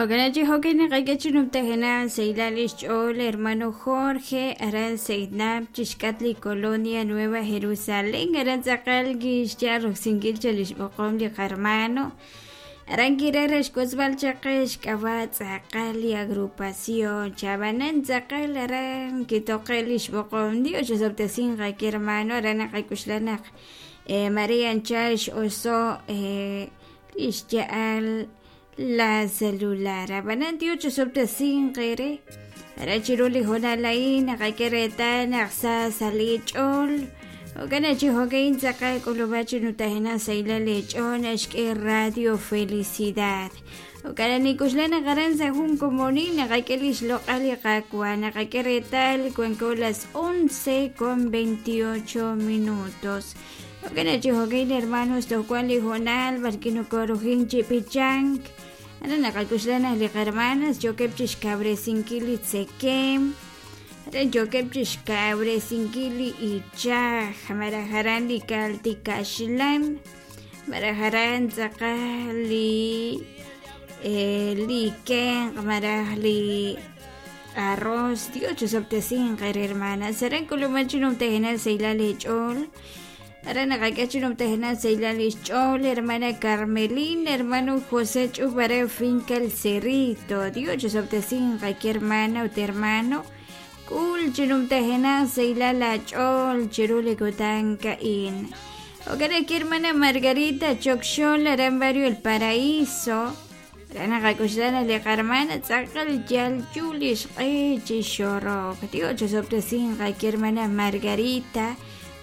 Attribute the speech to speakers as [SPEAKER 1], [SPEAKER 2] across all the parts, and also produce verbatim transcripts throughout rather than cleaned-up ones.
[SPEAKER 1] Jo'kan jo'kan naqak'e sahilal xch'ool hermano Jorge aran Seidnap chixk'at li Colonia Nueva Jerusalén aran tz'aqal kixya roksinkil cha li xb'oqom li qarmano aran kiraj xk'osb'al chaqe xk'ab'a' tz'aqal li agrupación chabanan tz'aqal aran kitoqe li xb'oqom Dios xsobtesin qaki hermano aran naqak'uxlanaq María anchal x'oso li xya'al la celular. Abanan Dios chosoptesin qere. Ara chiru li jonalain naqak'e naqsa sali ch'ol. Jo'kan chi jo'kan tz'aqal k'ulub'a chi nutajena sayla lech'ol naxk'e Radio Felicidad. Jo'kan nikuxla naqaran sa jun komonil naqak'e li xloq'al li qakwa naqak'e retal cuanco las once con veintiocho minutos. Jo'kan chi jo'kan hermanos tojwan li jonal barki nokorujin chi pichank. Ana naqak'uxlana li qarmanas yokeb chixkab'resinkil li tzekem aran yokeb chixkab'resinkil li ichaj marajaran li kaltikaxlan marajaran tz'aqal li eh, li kenq maraj li arroz. Dios chosoptesin qer hermanas aran kulumachi numtejena sayla lech'ol Ara naqak'e numtejena sayla lech'ol hermana Carmelina hermano José Chubare finca El Cerrito. Dios chosoptesin qaki hermana ut hermano kul chinumtejena sayla lach'ol chiruli kutan ka'in. Okara ki hermana Margarita Chokxol aran barrio El Paraíso. Ara naqak'uxlana li qarmana tz'aqal yal yulix q'e chixorok. Dios chosoptesin qaki hermana Margarita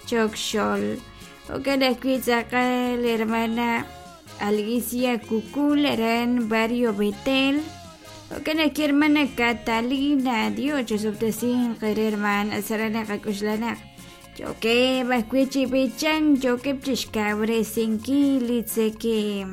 [SPEAKER 1] Chokxol. Okara ki tz'aqal hermana Alicia Cucul aran barrio Betel. Okara ki hermana Catalina. Dios chosoptesin qer hermana sarana qak'uxlana Yoke bajkuichi bichan yokeb chixkab'resinkil li tzekem.